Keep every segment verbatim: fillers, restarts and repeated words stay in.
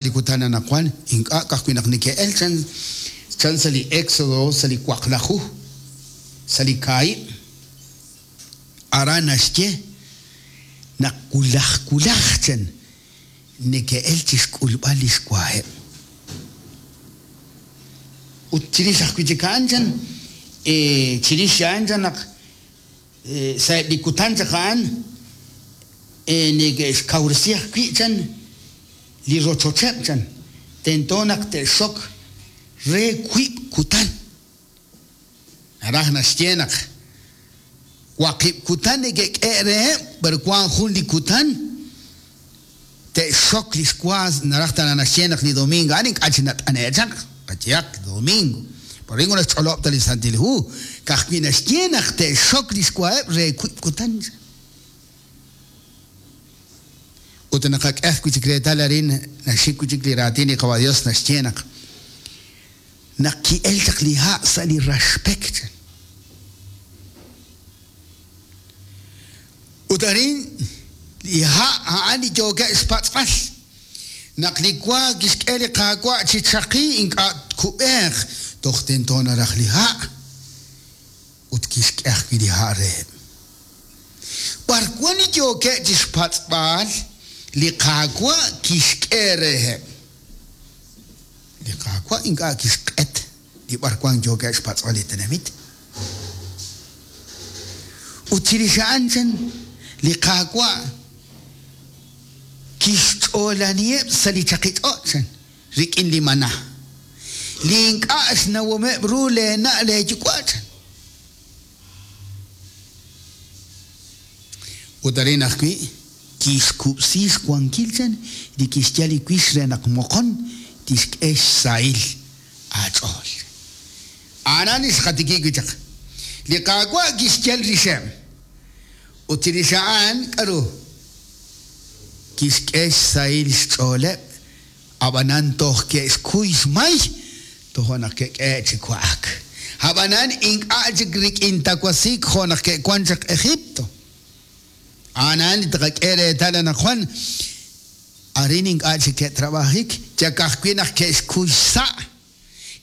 Li kutan anaqwan ink'a' ka'ajwi' naq neke'elk chan chan sa' li Éxodo sa' li waqlaju sa' li kaahib' aran naxye naq wulaj wulaj chan neke'elk chi xk'ulb'al li xwaheb'. Ut chirix ajwi' chik a'an chan chirix a'an chan naq sa'eb' li kutan chaq a'an neke'xkawresi ajwi' chan li rochocheb' chan tento naq te'xok re wiib' kutan. Naraj naxye naq waqib' kutan neke'k'e reheb', pero wank jun li kutan te'xok li xwa. Naraj tana naxye naq li domingo a'an ink'a' chi nat'ane'k chaq, qayehaq domingo. Por ejemplo, naxch'olob' ta li Santil Hu, ka'ajwi' naxye naq te'xok li xwaheb' re wiib' kutan. Ut naqak'e ajwi' chik reetal arin naxik wi' chik li raatin li Qawa' Dios naxye naq naq ki'elk chaq li ha' sa' li raxpek chan. Ut arin li ha' a'an li yookeb' xpatz'b'al. Naq li wa kixk'e li Qaawa' chi chaqi ink'a' tkub'eeq toj tento naraj li ha' ut kixk'e ajwi' li ha' reheb'. B'ar wan li yookeb' chi xpatz'b'al li Qaawa' kixk'e reheb'. Li Qaawa' ink'a' kixq'et li b'ar wan yookeb' xpatz'b'al li tenamit. Ut chirix a'an chan li Qaawa' kixch'oolaniheb' sa' li chaqi ch'och' chan rik'in li maná. Li ink'a' xnawomeb' ru leena' leeyuwa' chan. Ut arin ajwi' kixkub'si xwankil chan li kixyal li wix re naq moqon tixk'e xsahil aach'ool. A'an li xqatikib' wi' chaq. Li Qaawa' kixyal rixeb'. Ut chirix a'an k'aru? Kixk'e xsahil xch'ooleb', ab'anan toj ke'xkuy xmay, tojo' naq ke'k'ehe' chi wa'ak. Ab'anan ink'a' chik rik'in tawasiik jo' naq ke'wank chaq Egipto. A'an li taqak'e reetal anaqwan arin ink'a' chik ke'trab'ajik, yak ajwi' naq ke'xkuy xsa',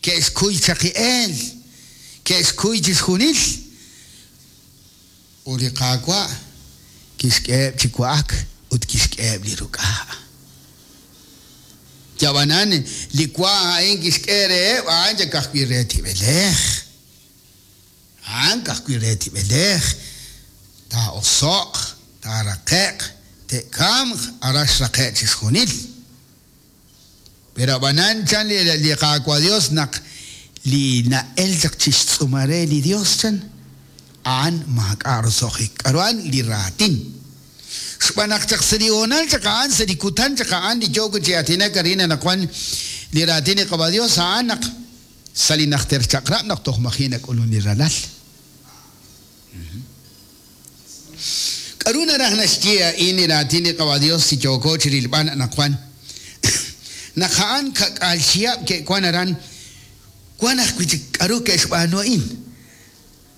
ke'xkuy chaqi'eel, ke'xkuy chixjunil. Ut li Qaawa' kixk'eheb' chi wa'ak ut kixk'eheb' li ruk'a'. Yab'anan li wa a'in kixk'e reheb' a'an yak ajwi' re tib'elej. A'an ka'ajwi' re tib'elej. Taa'oso'q, taaraqe'q, te'kamq, aran xraqe' chixjunil. Pero ab'anan chan li Qaawa' Dios naq li na'el chaq chi xtz'uumal re li Dios chan a'an maak'a' roso'jik. K'aru a'an li raatin. Xb'aan naq chaq sa' li hoonal chaq a'an sa' li kutan chaq a'an li yooko chi aatinak arin anaqwan li raatin li Qawa' Dios a'an naq sa' li najter chaq'rab' naq toj maji' nak'ulun li ralal. K'aru naraj naxye a'in li raatin li Qawa' Dios si yooko chi rilb'al anaqwan. Naq a'an ka'k'aal chihab' ke'wan aran wan ajwi' chik k'aru ke'xb'aanu a'in.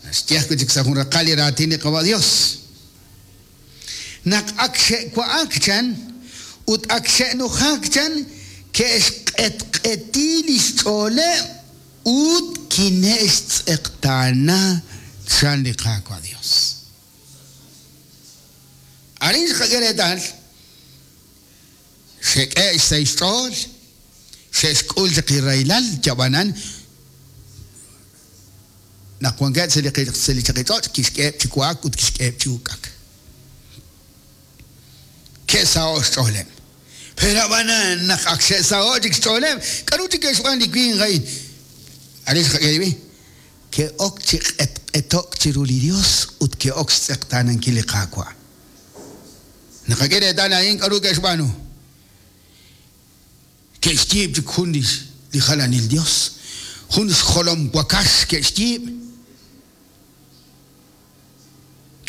Naxye ajwi' chik sa' jun raqal li raatin li Qawa' Dios. Naq ak xe'wa'ak chan ut ak xe'nujak chan ke'xq'etq'eti li xch'ooleb' ut kine'xtz'eqtaana chan li Qaawa' Dios. Arin xqak'e reetal xe'k'e xsahil xch'ool, xe'xk'ul chaq li rahilal yab'anan naq wankeb' sa' li chaqi ch'och' kixk'eheb' chi wa'ak ut kixk'eheb' chi uk'ak. Ke'saho' xch'ooleb'. Pero ab'anan naq ak xe'saho' chik xch'ooleb', k'aru chik ke'xb'aan li winq a'in? Arin xqak'e li ke'ok chi q'etq'eto'k chiru li Dios ut ke'ok xtz'eqtaanankil li Qaawa'. Naqak'e reetal a'in k'aru ke'xb'aanu. Ke'xyiib' chik jun li jalanil Dios, jun xjolom wakax ke'xyiib'.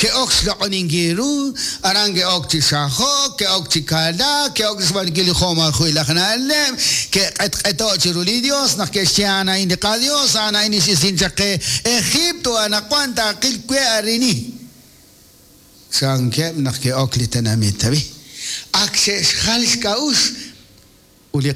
Ke'ok xloq'oninkil ru, aran ke'ok chi xajok, ke'ok chi kalaak, ke'ok xb'aanunkil li jo'maajo'il aj na'leb', ke'q'etq'eto'k chiru li Dios naq ke'xye a'an a'in li qaDios, a'an a'in li x'isin chaq qe Egipto, anaqwan taaqil we arini. Chankeb' naq ke'ok li tenamit, tabi. Ak xe'xjal xk'a'uxl. Ut li